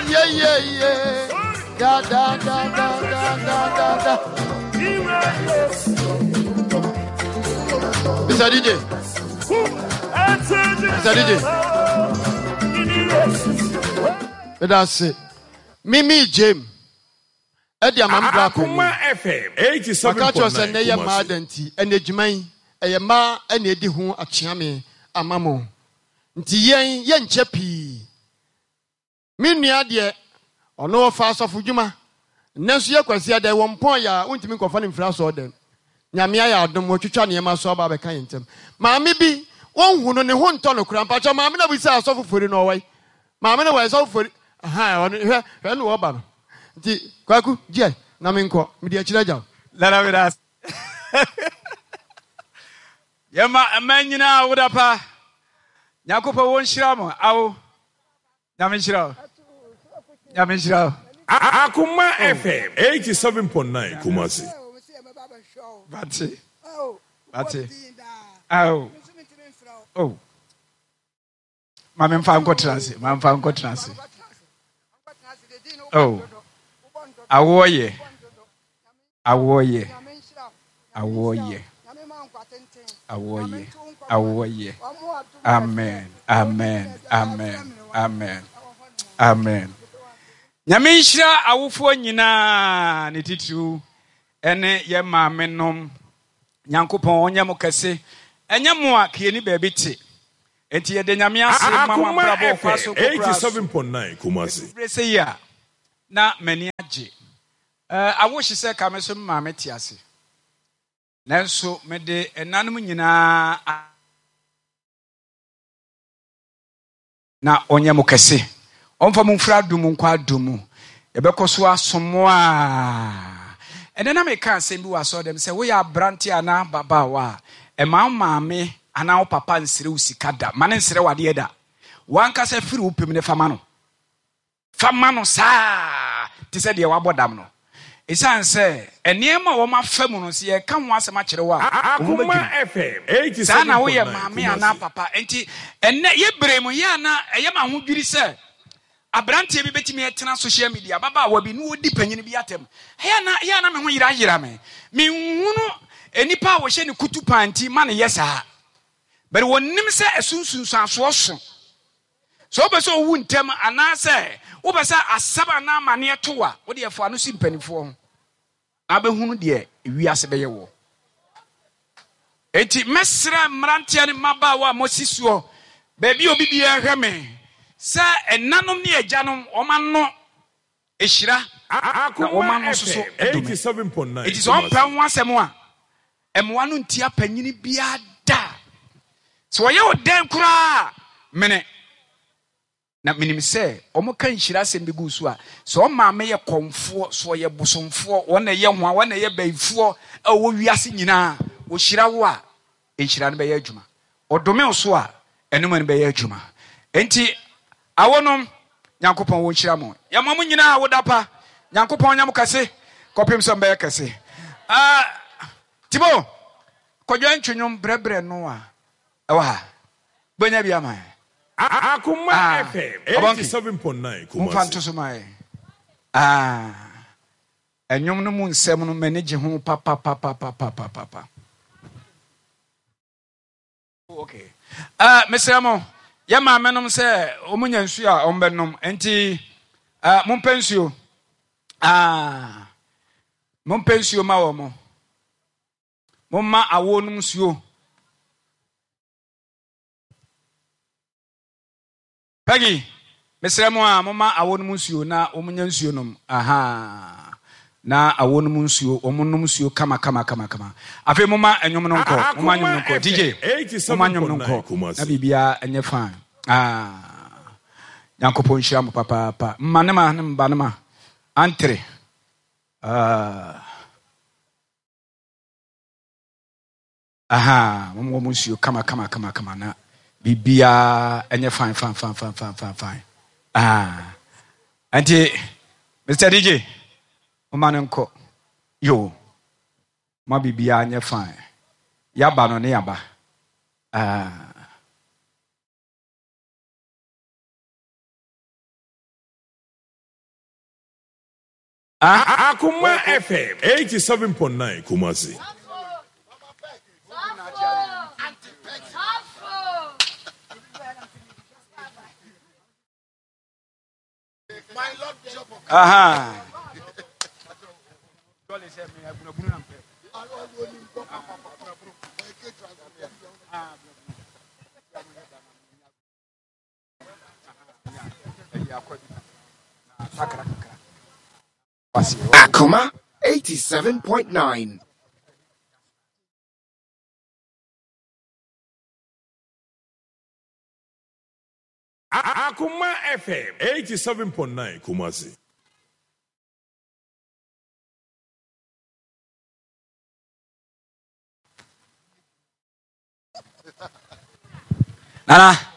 Yeah, yeah, yeah. Da, da, da, da, da, da, da, da. Mr. DJ. Mr. DJ. Meda ase. Mimi James. Ɛde ama me bra Akoma panyin. FM Maka akyerɛ wo sɛ 87.9 nnɛ yɛ mmaa Kumasi. da nti, ɛnna adwuma yi, ɛyɛ mmaa na edi ho akyeame ama mo. Nti yɛn, yɛnkyɛ pii. Me nua deɛ, ɔno ɔfa asɔfodwuma. Nnɛ nso yɛ Kwasiada yi, wɔmpɔn yɛ a, wontumi nkɔfa no mfiri asɔɔdɛm. Nyame ayɛ adom, watwitwa nneɛma so aba abɛka yɛn ntam. Maame bi, wonhu no, ne ho ntɔ no koraa. Mpakyɛw, maame no a obisaa asɔfo Fori no, ɔwɔ he? Maame no wɔ he? Sɔfo Fori, ahaa, ɔno, hwɛ, hwɛ no ɔba no. Nti, Kwaku, gyeɛ, na menkɔ. Mede akyiri agya wo. Nana meda ase. Yɛma mma nyinaa awoda pa. Nyankopɔn wɔ nhyira mo. Awo. Nyame nhyira wo. Nyame nhyira wo. Akoma FM 87.9 Kumasi. Bate. Bate. Awo. Oh. Ma me mfa nkɔtena ase. Ma mfa nkɔtena ase. Oh. Awoɔ yɛ. Awoɔ yɛ. Awoɔ yɛ. Awoɔ yɛ. Awoɔ yɛ. Amen. Amen. Amen. Amen. Amen. Nyame nhyira awofoɔ nyinaa ne titiriw ɛne yɛ maame nom. Nyankopɔn ɔnyɛ mo kɛse. Ɛnyɛ mo a kiyeni baabi te. Enti yɛda Nyame ase ma mo Akoma abrabɔ ɔkwa FM so kokora so. 87.9 Kumasi. Edu bere sɛ yi a na m'ani agye. Eh, awo hye sɛ ka me so me maame te ase. Nanso mede ɛnanom nyinaa a. Na ɔnyɛ mo kɛse. Ɔmfa mo mfiri adom mu nkɔ adom mu. Yɛbɛkɔ so asom mo a. Ɛnnɛ na meka asɛm bi wɔ asɔrdan mu sɛ woyɛ aberante anaa ababaawa a, mma wo maame anaa wo papa nsrɛ wo sika da. Mma no nsrɛ wo adeɛ da. W'ankasa firi wo pɛ mu na fa ma no. Fa ma no saa te sɛ deɛ wabɔ dam no. Esiane sɛ nneɛma a wɔafa mu no, sɛ yɛreka ho asɛm akyerɛ wo a, wo ho Akoma bɛdwiri. FM Saa na woyɛ 87.9 maame anaa Kumasi. papa. Enti ɛnnɛ, yɛ bere mu, yɛ a na ɛyɛ me ahodwiri sɛ aberanteɛ bi bɛtumi atena social media, ababaawa bi, na ɔredi panyin bi atɛm. Ɛyɛ a na, ɛyɛ a na me ho yerayera me. Menhunu nnipa a wɔhyɛ no kutu paa nti ma no yɛ saa. But wɔnnim sɛ ɛso nsunsuansoɔ so. Sɛ wopɛ sɛ owu ntɛm anaasɛ wopɛ sɛ asɛm anaa amaneɛ to wo a, wo deɛ fa ano si mpanimfoɔ ho na wobɛhunu deɛ wiase bɛyɛ woɔ. Enti mɛsrɛ mmeranteɛ ne mmabaawa a moasi soɔ baabi a obi biara hwɛ me sɛ ɛnanom ne agyanom wɔn ano hyira na wɔn Akoma ano nso so FM dome. 87.9 Enti sɛ ɔmpɛ Kumasi. ho asɛm a, mmoa no ntia panyini biara da. Sɛ wɔyɛ wo dɛn koraa a, mene. Na menim sɛ wɔka nhyira asɛm bi gu so a, sɛ wɔn maame yɛ kɔmfoɔ, sɛ ɔyɛ bosomfoɔ, wɔn na ɛyɛ hoa, wɔn na ɛyɛ bayifoɔ a wɔwɔ wiase nyinaa, wɔhyira wo a, nhyira no bɛyɛ adwuma. Ɔdome wo so a, ɛno mu no bɛyɛ adwuma. Enti, awonom, Nyankopɔn wɔ nhyira mo. Yɛma mo nyinaa awoda pa. Nyankopɔn nyɛ mo kɛse kɔpem sɛ mbɛyɛ kɛse. Ah, Tibo, kɔdwa ntwe nwom brɛbrɛ no a ɛwɔ ha. Bɛnya bi ama yɛn. Akoma Ah, FM Ɔbɔnke, 87.9 momfa Kumasi. nto so ma yɛn. Ah, ɛnwom no mu nsɛm no m'ani gye ho papapapapapapa. Oh, okay. Uh, mesrɛ mo, yɛ maame nom sɛ wɔn nya nsuo a wɔn bɛnom, nti uh, mompɛ nsuo. Ah, mompɛ nsuo ma wɔn. Momma awoɔ nom nsuo. Peggy, mesrɛ mo a momma awɔ nom nsuo na wɔn nya nsuo nom. Ahaa. Na awɔ nom nsuo, wɔn nom nsuo kama kama kama kama. Afei momma nnwom no nkɔ, momma nnwom no Akoma nkɔ. DJ, FM momma nnwom no 87.9 nkɔ na Kumasi. biribiara nyɛ fine. Ah. Nyankopɔn nhyira mo papaapa. Mma ne ma ne mba ne ma. Antere. Ah. Ahaa, wɔn wɔn nsuo kama kama kama kama na biribiara ɛnyɛ fine fine fine fine fine fine fine. Ah, nti Mr. DJ, mo ma no nkɔ. Yo, mo biribiara nyɛ fine. Yaba no ne yaba. Ah. Akoma FM 87.9 Kumasi. Aha. Akoma 87.9. Akoma FM 87.9 Kumasi. Nana.